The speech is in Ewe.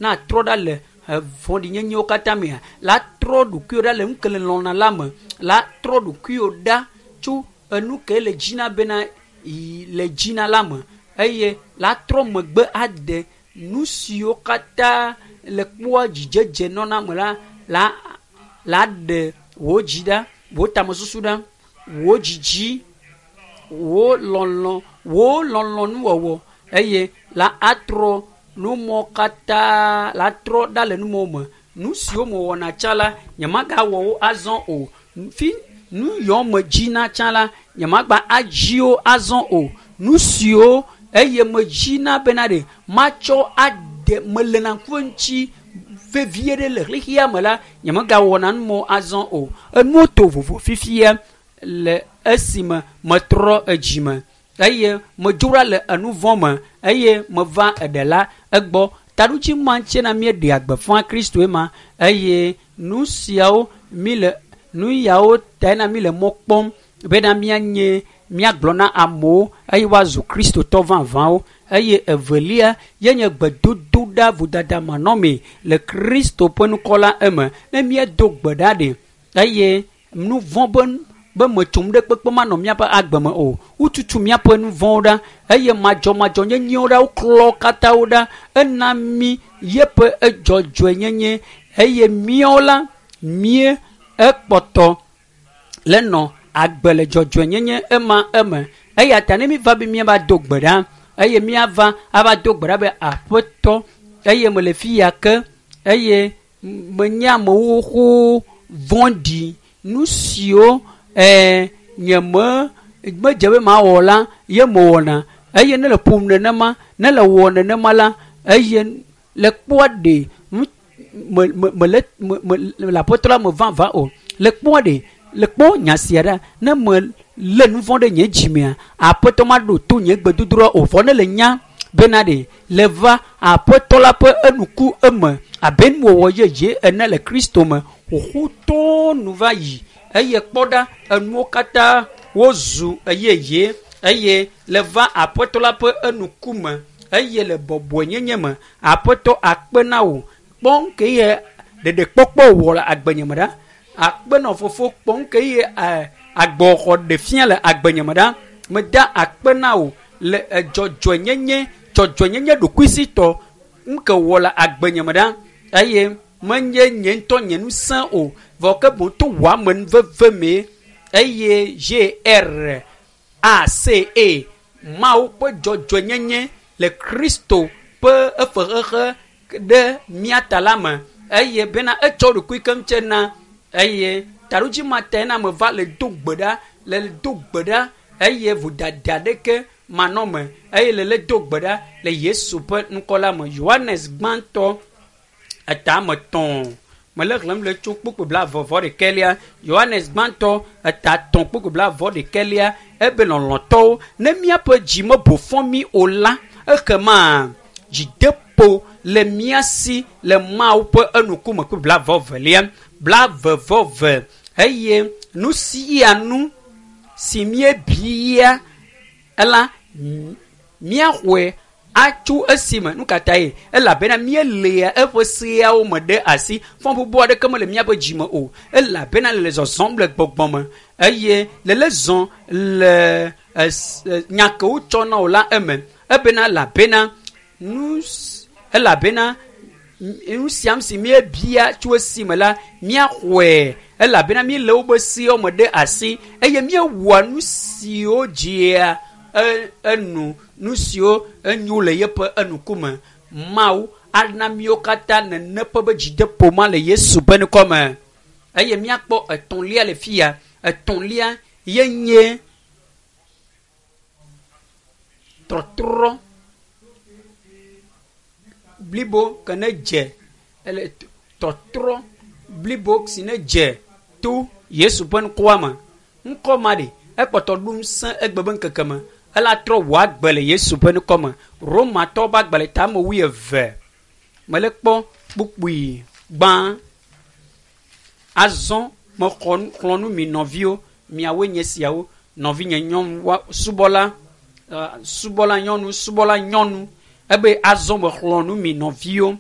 Na trɔ ɖa le vɔ̃ɖinyenyewo katã mea, la trɔ ɖokuiwò ɖa le nu ke le lɔ̃na la me, la trɔ ɖokuiwò ɖa tso enu ke le dzina bena le dzina la me eye la trɔ megbe ade nu siwo katã le kpɔa dzidzedze nɔna me la la la ɖe wò dzi ɖa, wò tamesusu ɖa, wò dzidzi, wò lɔlɔ̃, wò lɔlɔ̃nuwɔwɔ eye la atrɔ numɔ katã la trɔ ɖa le numɔ me. Nu siwo mewɔna tsã la, nyemagawɔ wo azɔ o. Fi nu yiwo medzina tsã la, nyemagba adzi wo azɔ o. Nu siwo eye medzina bena ɖe matsɔ ade melena ŋku ŋuti vevie ɖe le xexea me la, nyemegawɔna numɔ azɔ o. Enuwo to vovo fifia le esime metrɔ edzime eye medzo ɖa le enu vɔ̃ me eye meva eɖe la egbɔ. Taɖodzi ma ŋuti na míeɖea gbeƒã Kristoe ma eye nu siawo mi le nu yawo tae na mi le mɔ kpɔm bena míanye míagblɔ na amewo eye woazu kristotɔ vavãwo eye evelia ye nye gbedodoɖa vodada manɔmee le Kristo ƒe ŋkɔ la eme. Ne míedo gbe ɖa ɖe eye nu vɔ̃ be be metsom ɖe kpekpe manɔ míaƒe agbe me o. Wotutu míaƒe nu vɔ̃wo ɖa eye madzɔmadzɔnyenyewo ɖa woklɔ katã wo ɖa ena mí yeƒe edzɔdzɔenyenye eye míawo la mía ekpɔtɔ le nɔ agbe le dzɔdzɔenyenye ema eme. Eya ta ne míva be míava do gbe ɖa eye míava ava do gbe ɖa be aƒetɔ eye mele fi ya ke eye menye amewo xoxo vɔ̃ɖi nu siwo ɛɛ nye me medze be mawɔ la ye mewɔna eye ne le ƒom nenema ne le wɔ nenema la eye le kpɔa ɖe nu me me mele me me le aƒetɔ la me vavã o. Le kpɔa ɖe le kpɔ nya sia ɖa ne me lé nu vɔ̃ ɖe nye dzimea aƒetɔ maɖo to nye gbedodoɖa o vɔ ne le nya bena ɖe le va aƒetɔ la ƒe enuku eme abe nuwɔwɔ yeye ene le Kristo me xoxotɔ nu va yi eye kpɔ ɖa enuwo katã wozu yeye eye le va aƒetɔ la ƒe enuku me eye le bɔbɔenyenye me aƒetɔ akpe na wò kpɔ ke ye ɖeɖekpɔkpɔ wɔ le agbenye me ɖa akpe nɔ fofo kpɔ ke ye agbɔxɔ ɖe fia le agbenye me ɖa meda akpe na wò le dzɔdzɔenyenye dzɔdzɔenyenye ɖokuisitɔ nke wɔ le agbenye me ɖa eye menye nye ŋutɔ nye ŋusẽ o vɔ ke boŋ to wò amenuveve mee eye G R A C E Mawu ƒe dzɔdzɔenyenye le Kristo ƒe efe xexe ɖe mía ta la me eye bena etsɔ ɖokui keŋ tse na eye taɖodzi ma tae na meva le do gbe ɖa le do gbe ɖa eye vodada ɖeke manɔ me eye le le do gbe ɖa le Yesu ƒe ŋkɔ la me. Yohanes gbãtɔ eta ame tɔ̃ mele xlẽm le tso kpukpui blaeve vɔ ɖekɛlia. Yohanes gbãtɔ eta tɔ̃ kpukpui blaeve vɔ ɖekɛlia ebe lɔlɔ̃tɔwo ne míaƒe dzi mebo fɔ mí o la ekema dzideƒo le mía si le Mawu ƒe enukume kpukpui blaeve vɔ velia blaeve vɔ eve eye nu sia nu si míebia la míaxɔe atso esime nu ka ta ye elabena míelea eƒe seawo me ɖe asi fɔbubu aɖeke mele míaƒe dzime o elabena le zɔzɔm le gbɔgbɔ me eye le le zɔ le nya ke wotsɔ na wò la eme ebena elabena nu elabena nu siam si míebia tso esime la míaxɔe elabena míele wobe seawo me ɖe asi eye míewɔa nu siwo dzia enu nu siwo enyo le yeƒe enukume Mawu ana míwo katã nene ƒe be dzideƒo ma le Yesu ƒe ŋkɔ me eye míakpɔ etɔ̃lia le fia etɔ̃lia ye nye trɔtrɔ blibo ke ne dze ele tɔtrɔ blibo si ne dze to Yesu ƒe ŋkɔa me ŋkɔ ma ɖe ekpɔtɔ ɖo ŋusẽ egbe be ŋkeke me ela trɔ wò agbe le Yesu ƒe ŋkɔ me. Romatɔwo ƒe agbalẽ tame wuieve mele kpɔ kpukpui gbã azɔ mexɔ xlɔ nu mi nɔviwo miawoe nye siawo nɔvinye nyɔnu subɔla subɔla nyɔnu subɔla nyɔnu ebe azɔ mexlɔ nu mi nɔviwo.